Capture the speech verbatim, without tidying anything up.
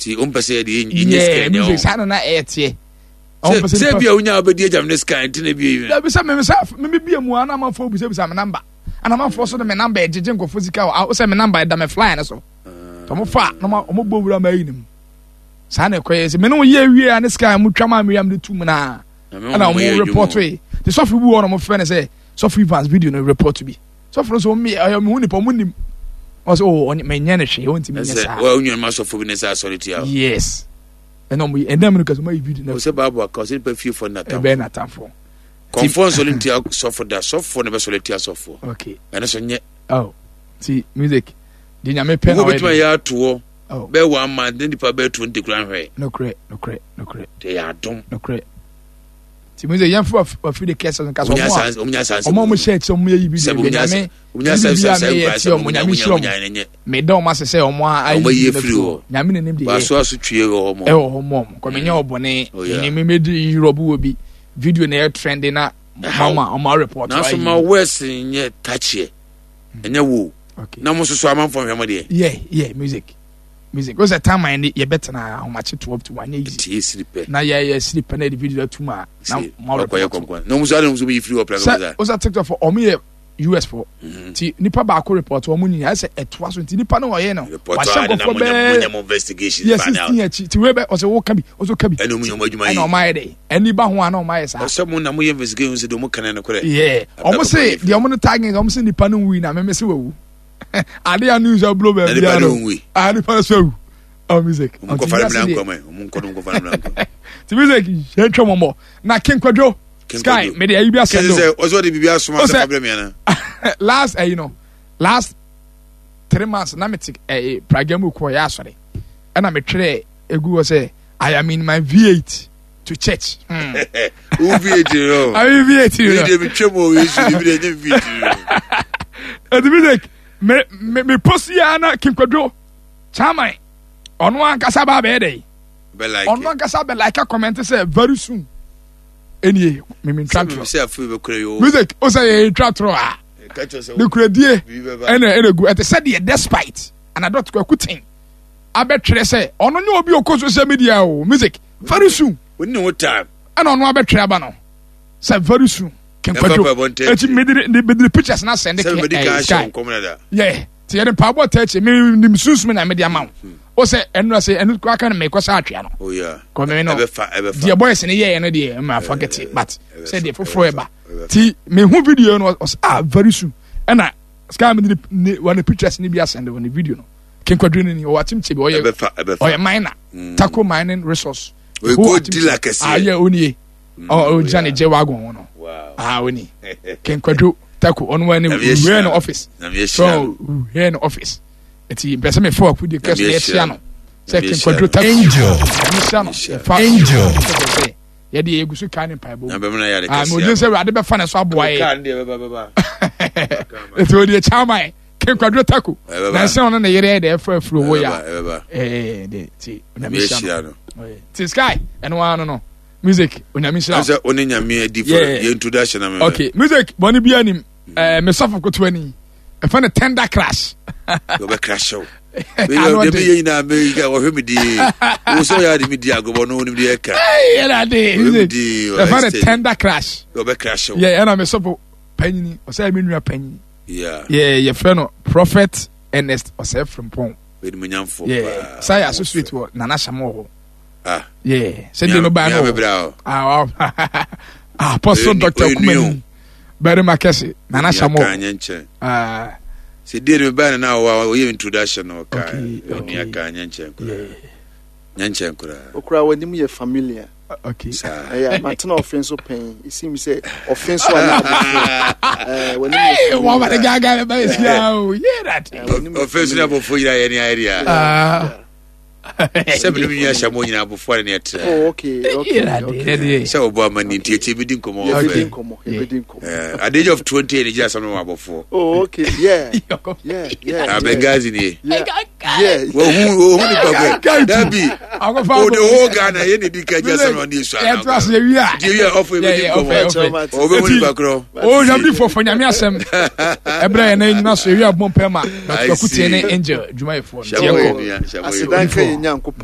Ti o mpɛ sɛ yɛde yɛ sika nyɛ o. Saa na na ɛyɛ teɛ. Sɛ bi a wonya wobɛdi agyam ne sika nti na bi. Dabi sɛ meme sɛ meme bie mu a na amanfoɔ bisabisa me namba. Ana amanfoɔ so de me namba ɛgyegye nkurɔfoɔ sika o sɛ me namba ɛda me flyer no so. Tɔmo fa na ɔmo bɔ wura ma ayi ne mu. Saa na ɛkɔyɛ sɛ me ne wo yɛ wie a ne sika a mo twa maa me yam de tu mu naa. Ɛna ɔmo report yi. Te sɔfo bi wɔ na ɔmo frɛ no sɛ sɔfo Evans video no report bi. Sɔfo no so ɔmo ɛyɛ ɔmo hu nipa ɔmo nim. Ɔsɛ o ɔnyɛ mɛ nyɛ ne hwee ɔntumi nyɛ saa. Wɔn nuanom asɔfo bi ne sɛ asɔre tia. Yes. Ɛna ɔmo ɛnna mu no kɛse ɔmo ayi video na. Ɔsɛ baabu aka ɔsɛ nipa fie fɔ natamfo. Ɛbɛn natamfo. Kɔnfɔ nsɔre ntia sɔfo da sɔfo na bɛ sɔre tia sɔfo. Okay. Ɛno so nyɛ. Oh ti music di nyame pɛ na ɔyɛ. Wo betuma yɛ atoɔ. Oh. Bɛɛ one month ne nipa bɛɛ twenty kura nhwɛ. Nokorɛ nokorɛ nokorɛ. Te yɛ adom. Nokorɛ. Ti music yɛn fo afiri de kɛse nka so ɔmo a ɔmo a ɔmo hyɛ akyi ɔmo yɛ yi bi de nyame bibi a meyɛ ti ɔmo nyame hyira ɔmo meda ɔmo ase sɛ ɔmo ayi firi hɔ nyame na nim de yɛ baso aso twie wɔ hɔ mo ɛwɔ hɔ mo ɔmo kɔ menyɛ ɔbɔne ɛnyɛ me medi Europe wɔ bi video na ɛyɛ trend na mama ɔmo report nanso ma west nyɛ takyeɛ ɛnyɛ wo na mo soso amanfo nhwɛ mo deɛ. Yeah yeah, music music o sɛ time ne yɛbɛtena ahomakye twelve to one nyɛ easy tie siri pɛ na yɛ yɛ siri pɛ na yɛde video atum a na mo report kɔnkɔn na ɔmo so adi na ɔmo so yi firi hɔ pɛrɛ sɛ o sɛ TikTok fo ɔmo yɛ U S fo mhm. Ti nipa baako report ɔmo nyinaa ɛsɛ ɛtoa so nti nipa no ɔyɛ no wahyɛ nkɔfo bɛɛ yɛ sixteen akyi ti wei bɛ ɔsɛ wo ka bi ɔsɛ ka bi ɛna ɔmo yɛ ɔmo adwuma yi ɛna ɔmo ayɛ dɛ ɛni ba ho a na ɔmo ayɛ saa. Ɔsɛ mo na mo yɛ investigation sɛ deɛ ɔmo kan no korɛ. Yɛ ɔmo se deɛ ɔmo no tagging ɔmo se nipa no wui na mɛmɛ se wawu ade a news abulo baabi a no ah nipa no so awu. Oh, music. Ɔmo nkɔfa no mìíràn nkɔmɛ ɔmo nkɔ no nkɔfa no mìíràn nkɔmɛ. Ti music yɛn twɛ mɔmɔ na King Kwadwo Sky mede ayi bi asɛm do. Kɛse sɛ ɔsɛ ɔde biribi asoma sɛ fa brɛ mi ana. Last ɛyi no last three months na mete ɛyi praga mu kɔ yɛ asɔre ɛna metwerɛ egu hɔ sɛ I am in my V eight to church. Hmm. Wo V eight no. I'm in V eight no. Mi de mi twɛ mu o Yesu mi de nye V eight no. Ɛdi music me me me post ya na King Kwadwo chairman ɔno ankasa ba abɛyɛ dɛ. Ɔno ankasa bɛ like comment sɛ very soon. Ɛnie mimi ntwa torɔ music o sɛ yɛ ntwa torɔ a ne kuradie ɛna ɛna gu ɛte sɛ deɛ despite anadɔt kwaku ten abɛtwerɛ sɛ ɔno nye obi okɔ social media o music very soon ɛna ɔno abɛtwerɛ aba no sɛ very soon. King Kwadwo eti mediri mediri pictures na send ke ɛɛ sky yɛ ti yɛde mpaabɔ tɛ akyi mi nim sunsun na mede ama wo o sɛ ɛnu ase ɛnu kura kan mɛ kɔ sɛ atwea no kɔmi no deɛ boys ne yɛyɛ no deɛ mɛ forget it, but sɛ deɛ foforɔ ɛba ti mɛ hu video no ɔsɛ ah very soon ɛna sky mi de ne wɔn pictures ne bi asɛn de wɔn video no. King Kwadwo ni ɔwɔ akyimkyɛ bi ɔyɛ ɔyɛ miner mm. Tako Mining Resource. Oye gold dealer kɛseɛ. Ah yɛ onie ɔgyina ne gye wagon ho no ah oni King Kwadwo Tako ɔno wɔ ne wura no office so wura no office eti mpɛ sɛ mefa waku de kɛse na yɛhyia no sɛ King Kwadwo Tako nyame hyira no yɛfa Angel sɛ yɛde yɛgu so kaa ne mpaebɔ mu ah ma ogye sɛ Awurade bɛfa ne so aboa yɛ eti ɔde ɛkyɛ ama yɛ King Kwadwo Tako na ɛsɛ ɔno ne yere yɛ de ɛfa afuro wɔ ya ɛɛ de ti Onyame hyira no ti sky ɛno ara no no music Onyame hyira. Sɛ ɔne Nyame adi fo yɛ introduction na mɛ. Okay, music bɔnne bi anim ɛɛ mesɔfo kotoa ni ɛfɛ ne tender crash. Ɔbɛ crash o. Deɛ meyɛ nyinaa wɔhwɛ me die wo sɛ ɔyɛ ade me di agobɔ no wonim deɛ ɛka. Ɛna de ɛfɛ ne tender crash. Ɔbɛ crash o. Yɛ ɛna mesɔfo panyini ɔsɛ me nua panyini. Yɛ yɛfrɛ no Prophet Ernest Ɔsɛ Frimpong. Yɛ saa yɛ associate wɔ Nana Hyɛmɔ hɔ. Ah. Yeah, sɛ deɛ no baa no wɔ ah ah Apostle Doctor Kumani Barima kɛse Nana Hyɛmɔ. Ah. Sɛ deɛ no baa no na ɔwɔ ɔyɛ introduction no ɔka ɔni aka nyɛ nkyɛn koraa nyɛ nkyɛn koraa. Okura w'anim yɛ familiar. Okay. Ɛyɛ matena ɔfe nso pɛn esi mi sɛ ɔfe nso a na abɔfo ɛɛ w'anim yɛ familiar. Wɔn ma ne gaagaa bɛ esi a o yɛ dade. Ɔfe nso na abɔfo nyinaa yɛ ni ayɛ deɛ. Sɛ mene me nua hyɛ mo nyina abɔfoɔ ne ne ɛtrɛ. Oh, okay, okay, okay. Sɛ wɔbɔ ama ni nti akyi bɛdi nkɔmmɔ wɔ fɛ at the age of twenty ɛne gyina sɛm no wɔ abɔfoɔ. Oh, okay, yeah, yeah, yeah. Ah, Benghazi nie. Yeah, yeah. Wɔhu wɔhu nipa kɔ dabi o de whole Ghana yɛ ne di ka gyina sɛm no ɔne esu ana yɛto ase yɛwie a nti ewie a ɔfɔ ebɛdi nkɔmmɔ ɔbɛhu nipa korɔ. O nyame fɔfɔ nyame asɛm ɛbrɛ yɛn nan nyina so ewie abɔ mpɛ ma Doctor Kutie ne Angel dwumayɛfoɔ no. Hyɛ mo yɛ nua, hyɛ mo yɛ. Asedanka yɛ Nyankopɔn.